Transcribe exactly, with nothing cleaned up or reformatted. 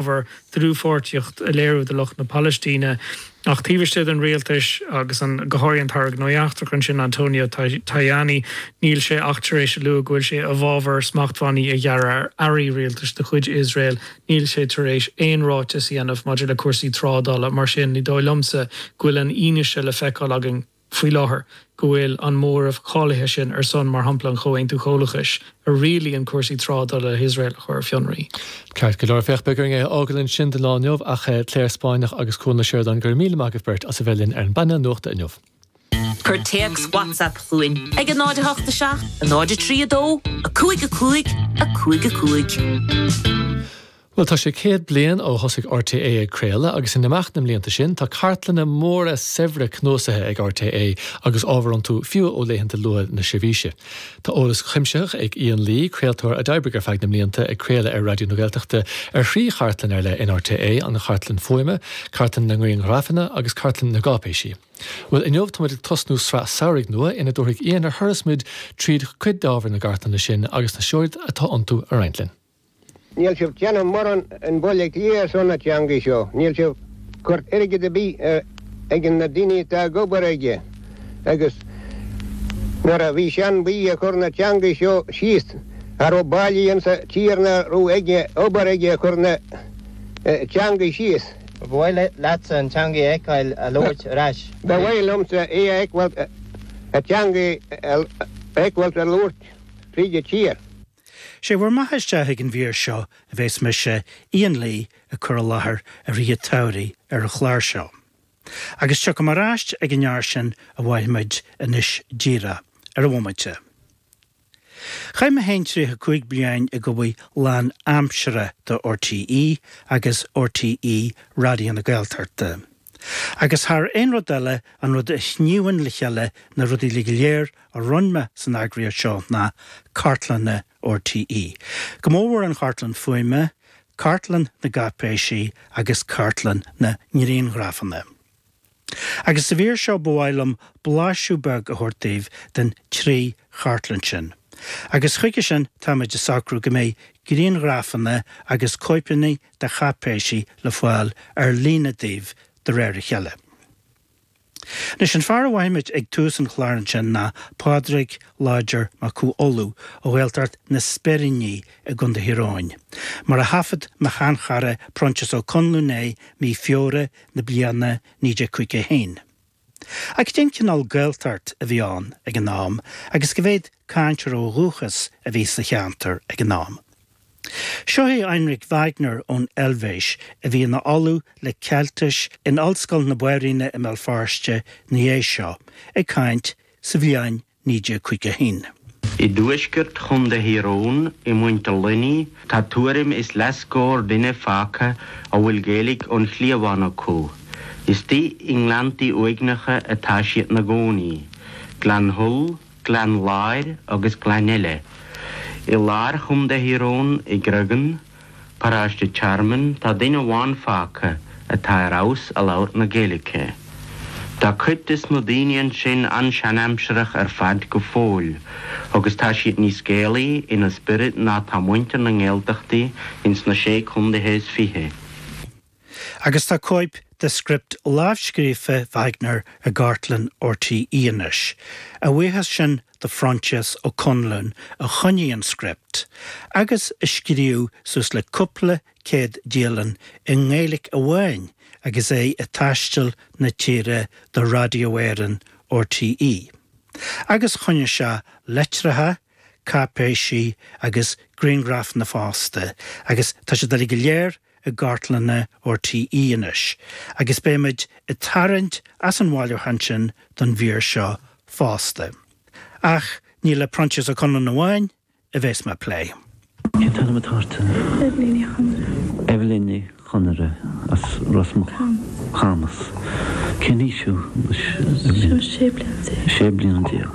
bhfabhar dlúthpháirtíocht a léiriú do lucht na Palaistíne. Ach taobh istigh den rialtas agus an go háirithe an tAire Gnóthaí Eachtracha ansin Antonio Tajani níl sé ach tar éis a lua go bhfuil sé i bhfabhar smachtbhannaí a ghearradh ar earraí rialtais de chuid Iosrael, níl sé tar éis aon ráiteas a dhéanamh maidir le cúrsaí trádála mar sin ní dóigh liomsa go bhfuil an fhianaise le feiceáil againn faoi láthair go bhfuil an móramh cáilithe sin ar son mar shampla an Chomhaontú Comhlachais a rialaíonn cúrsaí trádála le hIosrael a chur ar fionraí. Ceart go leor féach beidh orainn é a fhágáil ansin don lá inniu ach Claire Spáinneach agus Cuan Ó Seireadáin go raibh míle maith agaibh beirt as a bheith linn ar an bpainéal nuachta inniu. Cuir téacs WhatsApp chugainn ag a náid a hocht a seacht, a náid a trí a dó, a cúig a cúig, a cúig a cúig. Well tá sé céad bliain ó thosaigh RTÉ ag craoladh agus in imeacht na mblianta sin tá cartlanna móra saibhre cnuasaithe ag RTÉ agus ábhar iontu fiú ó laethanta luatha na seirbhíse. Tá eolas cuimsitheach ag Ian Lee, craoltóir a d'oibrigh ar feadh na mblianta ag craoladh ar Raidió na Gaeltachta ar thrí chartlann ar leith in RTÉ an chartlann fuaime, cartlann na ngrianghrafanna agus cartlann na gcáipéisí. Well inniu táimid ag tosnú sraith samhraidh nua ina dtabharfaidh Ian ar thuras muid tríd cuid d'ábhar na gcartlanna sin agus na seoid atá iontu a roinnt linn. Níl sibh déanamh mórán in Baile Átha Cliath ar son na teangaí seo, níl sibh cur airgead ar bith ag na daoine atá ag obair aige agus nuair a bhí seanbhuí ag cur na teangaí seo síos cha raibh baile insa tír ná raibh aige obair aige ag cur na teangaí síos. Ba mhaith leatsa an teanga a fheiceáil á labhairt ar ais? Ba mhaith liomsa é a fheiceáil, an teanga a fheiceáil á labhairt fríd an tír. Sé bhur mbeatha isteach ag an mhír seo a bheas mise, Ian Lee, ag cur i láthair i rith an tsamhraidh ar an chlár seo. Agus tiocfaidh mé ar ais ag an fhear sin a mholfaimid anois díreach ar an bhomaite. Chaith mé féin tríocha cúig bliain ag obair lán aimsire do RTÉ agus RTÉ Raidió na Gaeltachta. Agus thar aon rud eile an rud a shníomhann le chéile na rudaí uilig go léir a rinne mé san eagraíocht seo ná cartlanna RTÉ. Go mórmhór an chartlann fuaime, cartlann na gcáipéisí agus cartlann na ngrianghrafanna. Agus sa mhír seo ba mhaith liom blaiseadh beag a thabhairt daoibh den trí chartlann sin. Agus chuige sin táimid ag socrú go mbeidh grianghrafanna agus cóipeanna de cháipéisí le fáil ar líne daoibh de réir a chéile. Anois an fear a mholfaimid ag tús an chláir ansin ná Pádraig Láidir Mac Cú Uladh ó Ghaeltacht na Speiríní i gContae Thír Eoghain, mar a thaifead mo sheanchara Proinsias Ó Conluain é mí Feabhra na bliana naoi déag caoga a haon. Ach cén cineál Gaeltacht a bhí ann ag an am agus cá mhéad cainteoir ó dhúchas a bhí sa cheantar ag an am? Seo é Heinrich Wagner ón Eilvéis a bhí ina ollamh le Ceiltis in Ollscoil na Banríona i mBéal Feirste ina dhiaidh seo, ag caint sa bhliain naoi déag caoga a haon. I dtuaisceart Chontae Thír Eoghain, i Muintir Luiní, tá tuairim is leathscór duine fágtha a bhfuil Gaeilge ón chliabhán acu. Istigh i ngleanntaí uaigneacha atá siad 'na gcónaí, Gleann Thull, Gleann Láir agus gleann eile. I lár Chontae Thír Eoghain, i gCreagán, paróiste Tearmainn, tá duine amháin fágtha atá ar fheabhas a labhairt na Gaeilge. Tá cuid des na daoine ansin an-seanaimsearach ar fad go fóill agus tá siad níos Gaelaí ina spiorad ná tá muintir na nGaeltachtaí ins na sé contaetha is fiche. Agus tá cóip de script lámhscríofa Wagner i gcartlann RTÉ anois. A bhuíochas sin do Phroinsias Ó Conluain a choinnigh an script, agus a scríobh suas le cúpla céad dialann i nGaeilge amháin agus é ag taisteal na tíre do Raidió Éireann RTÉ. Agus choinnigh sé litreacha, cáipéisí agus grianghrafanna fosta, agus tá siad uilig go léir i gcartlanna RTÉ anois, agus beimid ag tarraingt as an bhailiúchán sin don mhír seo fosta. Ach ní le Proinsias Ó Conluain amháin a bheas mé ag plé. Cén t-ainm atá ort? Eibhlín Ní Chonaire. Eibhlín Ní Chonaire as Ros Muc. Camas. Cén aois thú anois? Sé bliana déag. Sé bliana déag.